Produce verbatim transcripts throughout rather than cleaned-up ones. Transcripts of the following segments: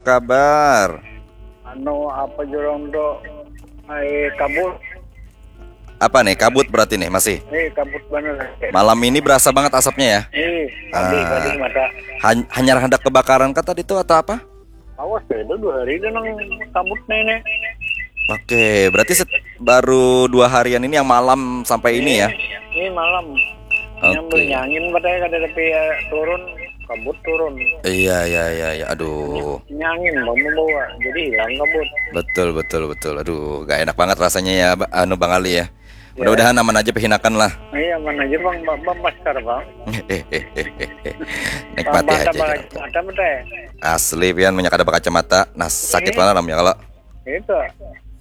kabar? Anu apa jurang tu? Ai kabut. Apa nih, kabut berarti nih masih? Nih kabut bener. Malam ini berasa banget asapnya ya? Nih tadi Ah. tadi mata. Han- hanyar hendak kebakaran kah tadi tuh atau apa? Awas deh, itu dua hari itu nang kabut nih ini. Oke, berarti set- baru dua harian ini yang malam sampai ini ya? Ini malam. Yang Oke. Nyangin padahal kada tapi ya, turun kabut turun. Iya, iya, iya, iya. Aduh. Nyangin bang membawa, jadi hilang kabut. Betul, betul, betul. Aduh, gak enak banget rasanya ya, Ba- anu Bang Ali ya. Mudah-mudahan aman aja pihinakan lah. Iya mana aja bang, bang, bang masker bang. Nikmati Mata aja bang, gitu. Mata mata ya. Asli pian punya kada berkacamata. Nah, sakit mana namanya kalau. Itu.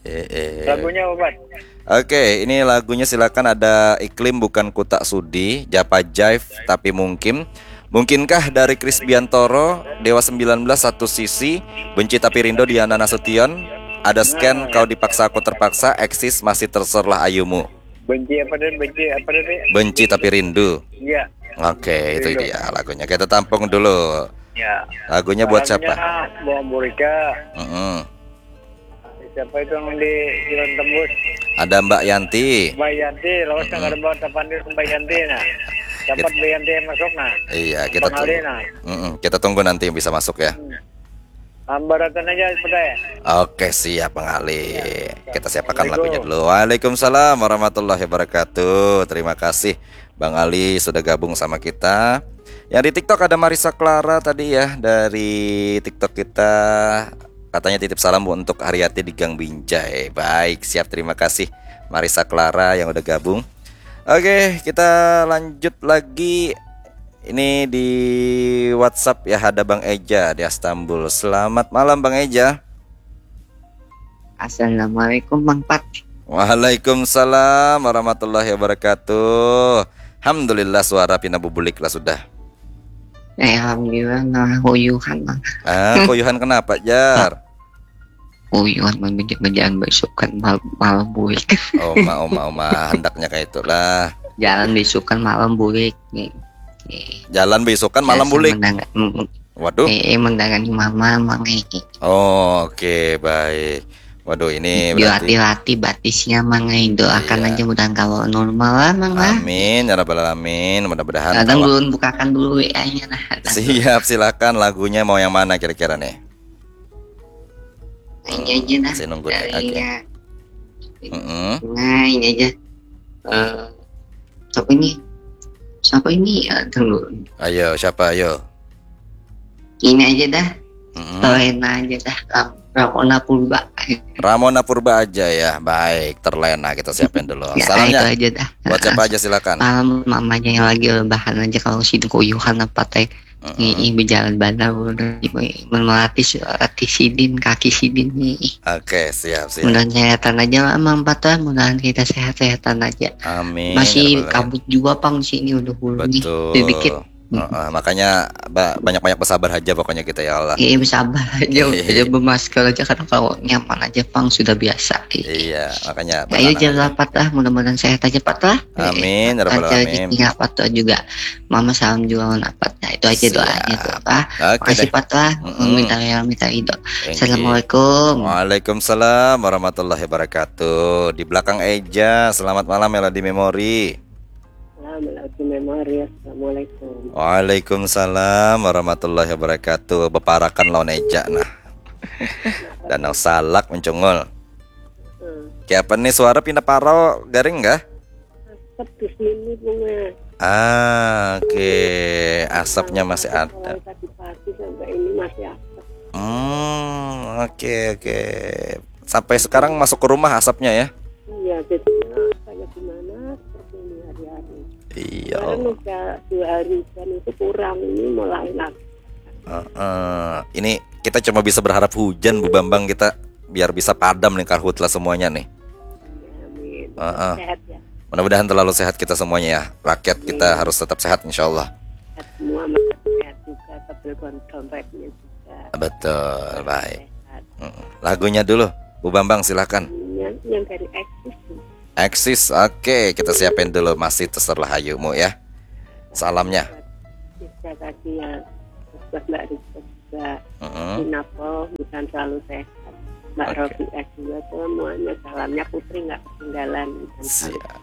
Eh, eh. Lagunya obat. Oke, ini lagunya silakan ada Iklim Bukan Kutak Sudi, Japa Jive Tapi Mungkin. Mungkinkah dari Chris Biantoro, Dewa sembilan belas Satu Sisi, Benci Tapi Rindu Diana Nasution, ada Scan Kau Dipaksa Aku Terpaksa, Eksis Masih Terserlah Ayumu. Benci apa dan benci apa tadi? Benci Tapi Rindu. Iya. Oke, itu dia lagunya. Kita tampung dulu. Ya. Lagunya buat siapa? Buang Burika. Mm-mm. Siapa itu yang di Jalan Tembus? Ada Mbak Yanti. Mbak Yanti, lawas nang ada bawa tapan di Mbak Yanti nah. Dapat Mbak Yanti yang masuk nah. Iya, kita Bang Ali tunggu. Nah. Mm-mm, kita tunggu nanti yang bisa masuk ya. Ambaratan aja sudah ya. Oke, siap Bang Ali. Kita siapakan lagunya dulu. Waalaikumsalam warahmatullahi wabarakatuh. Terima kasih Bang Ali sudah gabung sama kita. Yang di TikTok ada Marisa Clara tadi ya, dari TikTok kita. Katanya titip salam untuk Haryati di Gang Binjai. Baik, siap, terima kasih Marisa Clara yang udah gabung. Oke, kita lanjut lagi. Ini di WhatsApp ya, ada Bang Eja di Istanbul. Selamat malam Bang Eja. Assalamualaikum Bang Pat. Waalaikumsalam warahmatullahi wabarakatuh. Alhamdulillah suara pina bubulik lah sudah. Eh, alhamdulillah nah huyuhan lah. Ah, kuyuhan kenapa, Jar? Huyuhan menjadi menjadi besukan mal malam bulik. Oma, oma, oma, hendaknya kayak itulah. Jalan besukan malam bulik nih. Nih. Jalan besukan malam Biasa bulik. Mendangar, mm, Waduh. Eh, eh, mendangar mama mangai. Oh, oke, baik. Waduh, ini Yo berarti hati-hati batisnya mangai. Doakan Iya. Aja mudah kalau normal lah mang lah. Amin ya rabbal alamin. Mudah-mudahan Kadang awak- belum bukakan dulu W A-nya nah. Siap, silakan, lagunya mau yang mana kira-kira nih? Ini aja nah. Saya nunggu nih. Oke. Darinya. Mm-mm. Nah, ini aja. Eh, siapa ini? Siapa ini? Ya, tunggu. Ayo, siapa ayo? Ini aja dah. Mm-mm. Terlena aja dah. Ram- Ramona Purba. Ramona Purba aja ya. Baik, terlena kita siapin dulu. Ya, Salamnya itu aja dah. buat siapa aja, silakan. Salam mamanya yang lagi rebahan aja kalau sidin kuyuhan apa teh. Mm-mm. Ini berjalan bandar udah melatih latih sidin kaki sidin nih. Oke, siap, siap. Mudahan sehatan aja lah Mang Pat lah, mudahan kita sehat-sehatan aja. Amin. Masih Ya rabbal alamin. Kabut juga pang sini udah hulu nih. Betul. Sedikit. Heeh, makanya ba- banyak-banyak bersabar aja pokoknya kita ya Allah. Iya bersabar aja, Iya. aja bermasker aja karena kalau nyaman aja pang sudah biasa. Iya. Iya, makanya Ayo tenang jangan aja. Rapat lah, mudah-mudahan sehat aja Pat lah. Amin, ya rabbal Lancar alamin. Rezekinya Pat tuh juga. Mama salam juga mana Pat. Nah, itu aja Siap. Doanya tuh Pak. Oke Makasih deh. Pat lah. Mm-mm. Meminta yang minta ridho. Thank you. Assalamualaikum. Waalaikumsalam warahmatullahi wabarakatuh. Di belakang Eja, selamat malam Melody Memory. Salam Melody Memory. Assalamualaikum. Waalaikumsalam warahmatullahi wabarakatuh. Beparakan lawan Eja nah. Danau Salak mencungul. Hmm. Kiapa nih suara pindah parau garing kah? Asap di sini bunga. Ah, oke. Asapnya masih ada. Mulai tadi pagi sampai ini masih asap. Hmm, oke, oke. Sampai sekarang masuk ke rumah asapnya ya? Iya, jadinya kayak gimana seperti ini hari-hari. Iya. Kemarin udah dua hari hujan itu kurang, ini mulai lagi. Heeh. Ini kita cuma bisa berharap hujan Bu Bambang kita biar bisa padam nih karhutla semuanya nih. Amin. Heeh. Sehat ya. Mudah-mudahan terlalu sehat kita semuanya ya. Rakyat kita harus tetap sehat insya Allah. Sehat semua, masyarakat sehat juga, tebel dompetnya juga. Betul, baik. Sehat. Mm-mm. Lagunya dulu, Bu Bambang silahkan. Yang, yang dari Eksis. Eksis, oke, kita siapin dulu masih terserah hayumu ya. Salamnya. Bisa kasih yang buat Mbak Rizka juga. Mm-mm. Sinapel, mudahan selalu sehat. Mbak Rofiqah juga semuanya, salamnya Putri nggak ketinggalan. Siap.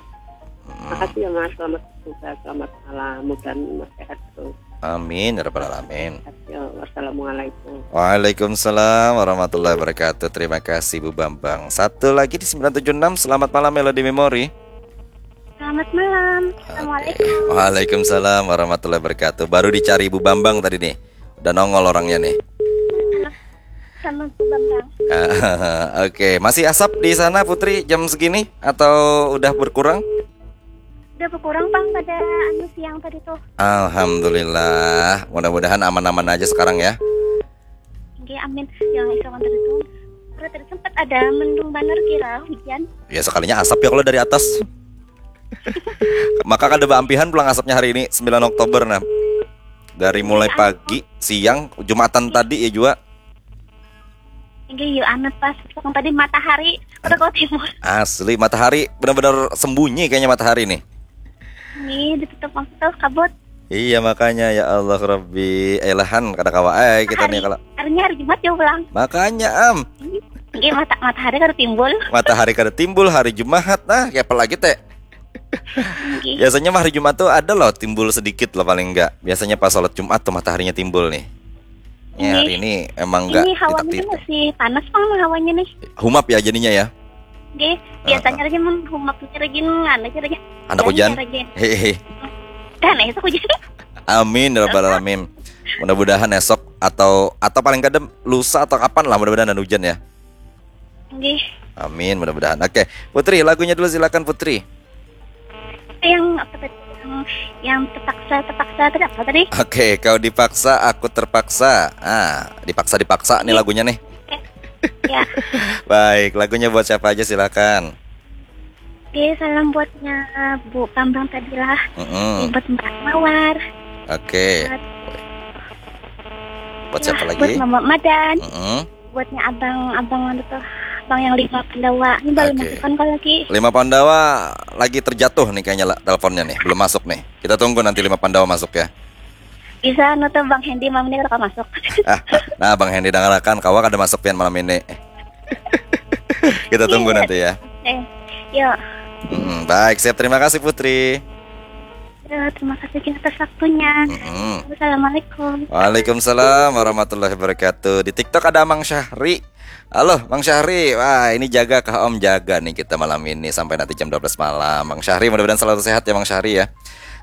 Makasih ya Mas, selamat bertugas, selamat malam, mudahan Mas sehat terus. Amin ya rabbal alamin. Wassalamualaikum. Waalaikumsalam warahmatullahi wabarakatuh. Terima kasih Bu Bambang. Satu lagi di sembilan tujuh enam. Selamat malam Melody Memory. Selamat malam. Assalamualaikum. Waalaikumsalam warahmatullahi wabarakatuh. Baru dicari Bu Bambang tadi nih. Udah nongol orangnya nih. Halo. Sama Bu Bambang. Oke, masih asap di sana Putri jam segini atau udah berkurang? Udah berkurang Bang pada anu siang tadi tuh. Alhamdulillah, mudah-mudahan aman-aman aja sekarang ya. Oke, amin. Yang isokan tadi tuh, tadi sempat ada mendung banar kira hujan. Ya sekalinya asap ya kalau dari atas. Maka kada baampihan pulang asapnya hari ini sembilan Oktober nah. Dari mulai pagi, siang, Jumatan tadi ya juga. Enggak, yuk anut pas. Sekarang tadi matahari udah kau timur. Asli, matahari benar-benar sembunyi kayaknya matahari nih. Ini ditutup waktu kabut. Iya makanya ya Allah Rabbi, elahan kada kawa eh kita nih kalau. Harinya hari Jumat jauh pulang. Makanya am. Enggak, mata matahari kada timbul. Matahari kada timbul hari Jumat nah, kayak apa lagi teh? Biasanya mah hari Jumat tuh ada loh timbul sedikit loh paling enggak. Biasanya pas sholat Jumat tuh mataharinya timbul nih. Ya, hari ini emang enggak. Ini hawanya masih panas Bang hawanya nih. Humap ya jadinya ya. Oke, biasanya lagi humapnya lagi anu aja lagi. Anak hujan. Hehehe. Dan esok hujan. Amin ya rabbal alamin. Mudah-mudahan esok atau atau paling kadang lusa atau kapan lah mudah-mudahan ada hujan ya. Nggih. Amin, mudah-mudahan. Oke, Putri, lagunya dulu silakan Putri. Yang apa tadi? Yang, yang terpaksa, terpaksa tadi apa tadi? Oke, kau dipaksa, aku terpaksa. Ah, dipaksa dipaksa nih lagunya nih. Ya. Baik, lagunya buat siapa aja silakan. Oke, salam buatnya Bu Bambang tadi lah. Mm-mm. Buat Mbak Mawar. Oke. Buat, buat siapa lagi? Buat Mama Madan. Mm-mm. Buatnya abang-abang anu tuh, abang yang lima Pandawa. Ini baru masuk kan kalau lagi. Lima Pandawa lagi terjatuh nih kayaknya lah teleponnya nih, belum masuk nih. Kita tunggu nanti lima Pandawa masuk ya. Bisa anu tuh Bang Hendy malam ini kalau masuk. Nah, Bang Hendy dangarakan kawa kada masuk pian malam ini. Kita tunggu nanti ya. Eh, yuk. Hmm, baik, siap. Terima kasih Putri. Ya, terima kasih juga atas waktunya. Mm-mm. Assalamualaikum. Waalaikumsalam warahmatullahi wabarakatuh. Di TikTok ada Mang Syahri. Halo, Mang Syahri. Wah, ini jaga kah Om? Jaga nih kita malam ini sampai nanti jam dua belas malam. Mang Syahri, mudah-mudahan selalu sehat ya Mang Syahri ya.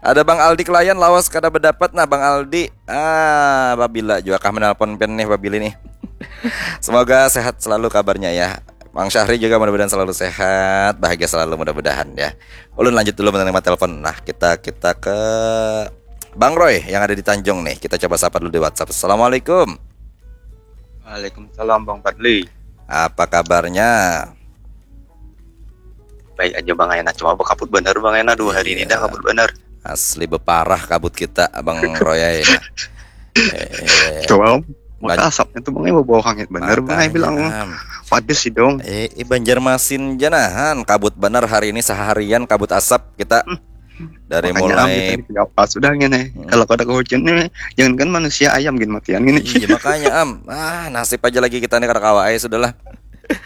Ada Bang Aldi Kelayan lawas kada berdapat. Nah, Bang Aldi, ah, babila juga kah menelpon pen nih, babili nih. Semoga sehat selalu kabarnya ya. Mang Syahri juga mudah-mudahan selalu sehat, bahagia selalu mudah-mudahan ya. Ulun lanjut dulu menerima telepon. Nah, kita kita ke Bang Roy yang ada di Tanjung nih. Kita coba sapa dulu di WhatsApp. Assalamualaikum. Waalaikumsalam Bang Fadli. Apa kabarnya? Baik aja Bang Ena, cuma kabut bener Bang Ena dua hari ini dah kabut bener. Asli beparah kabut kita Bang Roy ya. Eh, coba Om, maka asapnya tuh Bang Ena bawa hangit bener Bang Ena bilang. Padas sih dong. Eh, eh, Banjarmasin janahan kabut bener hari ini seharian kabut asap kita. Hmm. Dari mulai apa sudah gini. Hmm. Kalau kada hujan nih, jangankan manusia ayam gini matian gini. Iya makanya Am, ah nasib aja lagi kita nih kada kawa aja sudahlah.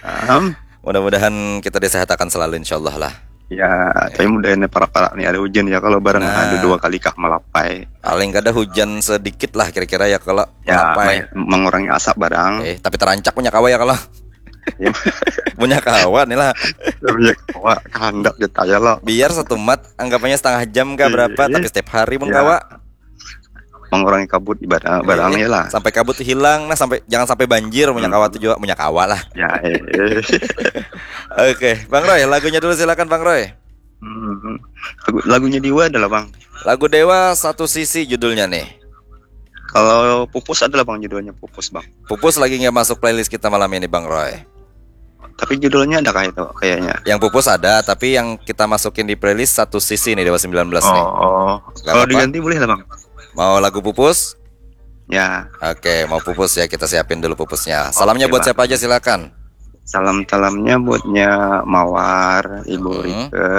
Am. Mudah-mudahan kita disehatakan selalu insyaallah lah. Ya, tapi mudahan para-para nih ada hujan ya kalau barang ada dua kali kah malapai. Paling kada hujan sedikit lah kira-kira ya kalau ya, malapai. Mengurangi asap barang. Eh, tapi terancak punya kawa ya kalau. Ya. Punya kawa nih lah. Punya kawa kehendak ya lah. Biar satu mat anggapannya setengah jam kah berapa tapi setiap hari mun kawa. Mengurangi kabut ibarat barangnya lah. Sampai kabut hilang nah sampai jangan sampai banjir punya kawa tuh juga punya kawa lah. Ya, eh, eh. Oke, Bang Roy, lagunya dulu silakan Bang Roy. Hmm, lagu, lagunya Dewa adalah Bang. Lagu Dewa satu sisi judulnya nih. Kalau Pupus adalah Bang judulnya Pupus Bang. Pupus lagi nggak masuk playlist kita malam ini Bang Roy. Tapi judulnya ada kayak itu kayaknya. Yang Pupus ada, tapi yang kita masukin di playlist satu sisi nih Dewa sembilan belas nih. Oh, oh. Kalau diganti boleh lah Bang. Mau lagu Pupus? Ya. Oke, mau Pupus ya kita siapin dulu Pupusnya. Salamnya buat siapa aja silakan. Salam-salamnya buatnya Mawar, Ibu Rike,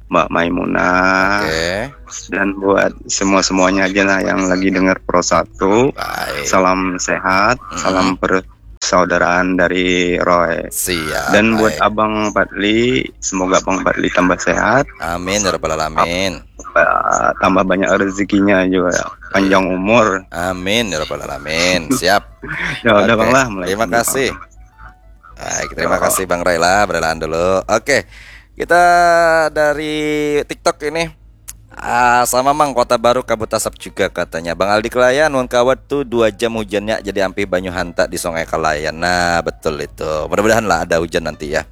Mbak Maimunah, Oke. dan buat semua-semuanya aja lah yang lagi dengar Pro Satu. Baik. Salam sehat, Mm-mm. salam persaudaraan dari Roy. Siap. Dan buat Baik. Abang Fadli, semoga Abang Fadli tambah sehat, Amin ya rabbal alamin. eh, tambah banyak rezekinya juga, panjang umur. Amin ya rabbal alamin. Siap. Ya udah Oke. Bang lah, Terima mulai kasih. Bang. Baik, terima Ya. kasih Bang Roy lah, berrelaan dulu. Oke. Kita dari TikTok ini. Ah, sama Mang, Kota Baru Kabut Asap juga katanya. Bang Aldi Kelayan, mun kawat tuh dua jam hujannya jadi ampih banyu hanta di Sungai Kalayan. Nah, betul itu. Mudah-mudahan lah ada hujan nanti ya.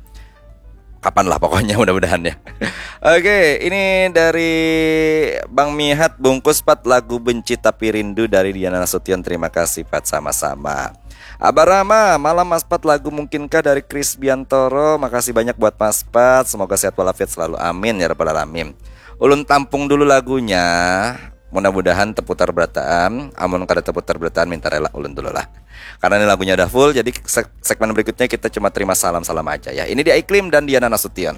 Kapan lah pokoknya, mudah-mudahan ya. Oke, ini dari Bang Mihat, bungkus pat lagu Benci Tapi Rindu dari Diana Nasution. Terima kasih Pat, sama-sama. Abah Rama, malam Mas Pat, lagu Mungkinkah dari Chris Biantoro. Makasih banyak buat Mas Pat, semoga sehat walafiat selalu, amin ya rabbal alamin. Ulun tampung dulu lagunya. Mudah-mudahan teputar berataan. Amun kada teputar berataan, minta rela ulun dulu lah. Karena ini lagunya udah full, jadi seg- segmen berikutnya kita cuma terima salam-salam aja ya. Ini dia Iklim dan Diana Nasution.